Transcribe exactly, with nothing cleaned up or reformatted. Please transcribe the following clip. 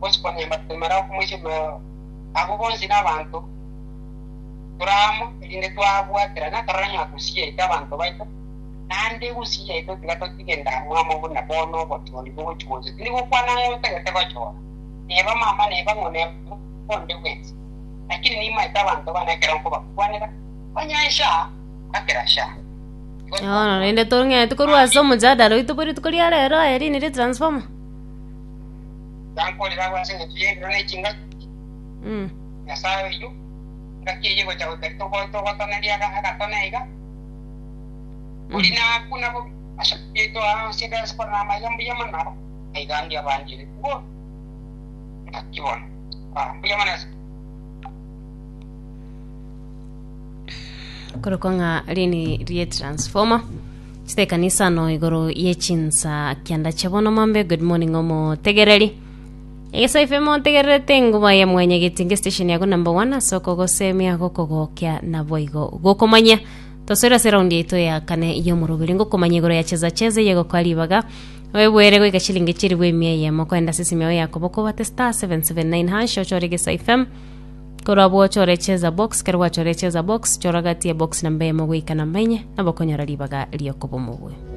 Bosco Nyambatemera okomoisemero abo bonsi n'abanto turamo erinde twabwaterana tororanya gusia yaito abanto baito naende gusia yaito tiga totige ndamwamo buna bono obochori bogochigocha tindi gokwana ng'a otagete gochora neba mama neba ng'o neba onde bwensi lakini nimaete abanto bana ekero nkobakwanera onye sha akera sha. Bono rende tong'ete korwa ase omojadala oito bori rituko ria rero aye rini rie transformer. Gankorera ase eng'encho ya ebiro na echingaki Mm. Nyasaye oyo ngaki eye gocha goikari togotoneria agatone iga ori nakuna bobi ase ase diaspora na amaiga mbuya mono nabo aiga ndi abandire bo ngaki bono. Ah, mbuya mono ase. Korokwa ng'a rini rie transformer chitekanisa no igoro ye chinsa kianda chia bono mambe. Good morning omotegereri egesaife motegererete enguba ya mwenya getinge station yako number one ase okogosemia gokogokia naboigo gokomanya tosoera ase raundi yaito ya kane y'omoroberi ngokomanya igoro ya cheza cheza yegokoa ribaga webwere goika chilingi chiribu emia eyemo koenda ase esimi yao yakoboko bate star seven seven nine hash ochore Egesa F M korwa abwo ochore cheza box kero gwachore cheza box chora gati ya box namba eyemo goika namba enye nabo okonyora ribaga riokoba omobwe.